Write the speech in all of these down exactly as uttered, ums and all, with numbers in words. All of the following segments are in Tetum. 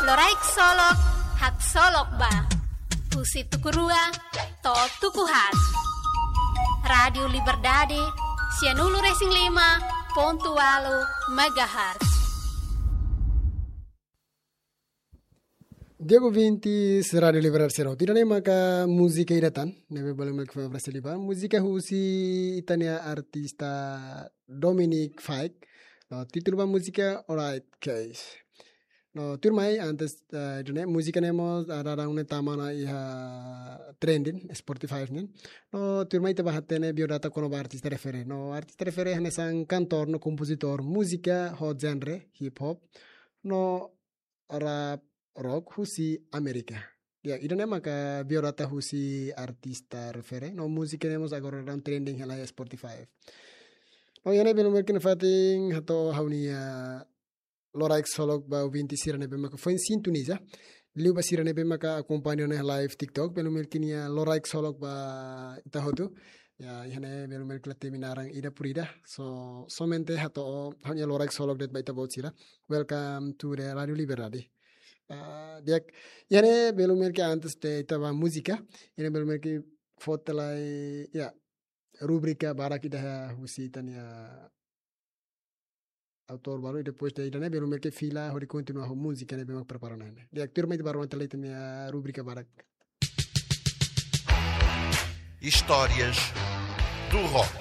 Loraik Solok, haksolok ba. Husi tuku rua to'o tuku haat. Rádiu Liberdade, sianulu-resin-lima pontu ualu megahertz. Di'ak ouvintes Rádiu Liberdade sira hotu, ida-ne'e maka múzika ida tan ne'ebé bolu maka fó Brasil ba. Múzika husi ita-nia artista Dominic Fike. No, títulu ba múzika Alright Guys. No, tuirmai antes, eh, ida-ne'e, múzika ne'e mós, ah, daudaun ne'e tama ona iha trending Spotify nian. No, tuirmai ita bá hatene biodata kona-ba artista refere. No, artista refere hanesan kantór no kompozitór múzika ho genre hip hop no rap rock husi Amérika. Ya, ida-ne'e maka biodata husi artista refere. No, múzika ne'e mós agora daudaun trending hela iha Spotify. No, iha ne'e belun merkin fatin hato'o ha'u-nia loraik solok ba ouvinte sira ne'ebé maka foin sintoniza. Liu ba sira ne'ebé maka akompaña ona live TikTok, belun merkin iha loraik solok ba ita hotu. Ya, iha ne'e belun merkin la temi naran ida por ida. So, somente hato'o ha'u-nia loraik solok de'it ba ita-boot sira. Welcome to the Rádiu Liberdade. Ah, di'ak, iha ne'e belun merkin antes de ita bá múzika, iha ne'e belun merkin fó tiha lai, ya, rubrika badak ida husi ita-nia autór balu, i depois de ida-ne'e belun merkin fila hodi kontinua ho múzika ne'ebé mak prepara ona. Di'ak, tuirmai ita bá rona tiha lai ita-nia rubrika badak. Histórias do Rock.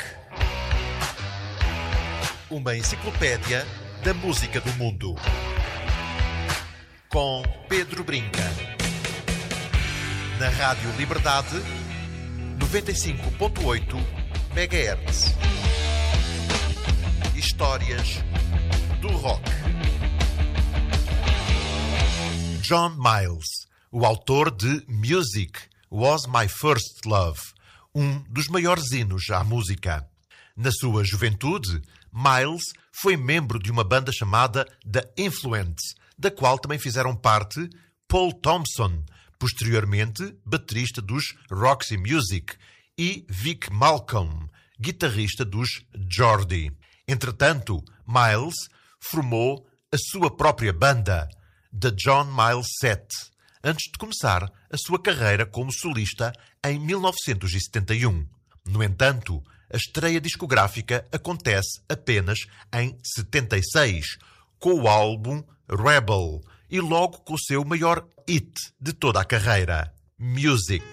Uma enciclopédia da música do mundo. Com Pedro Brinca. Na Rádio Liberdade, noventa e cinco ponto oito megahertz. Histórias do Rock. John Miles, o autor de Music Was My First Love, um dos maiores hinos à música. Na sua juventude, Miles foi membro de uma banda chamada The Influents, da qual também fizeram parte Paul Thompson, posteriormente baterista dos Roxy Music, e Vic Malcolm, guitarrista dos Geordie. Entretanto, Miles formou a sua própria banda, The John Miles Set, antes de começar a sua carreira como solista em mil novecentos e setenta e um. No entanto, a estreia discográfica acontece apenas em setenta e seis, com o álbum Rebel e logo com o seu maior hit de toda a carreira, Music.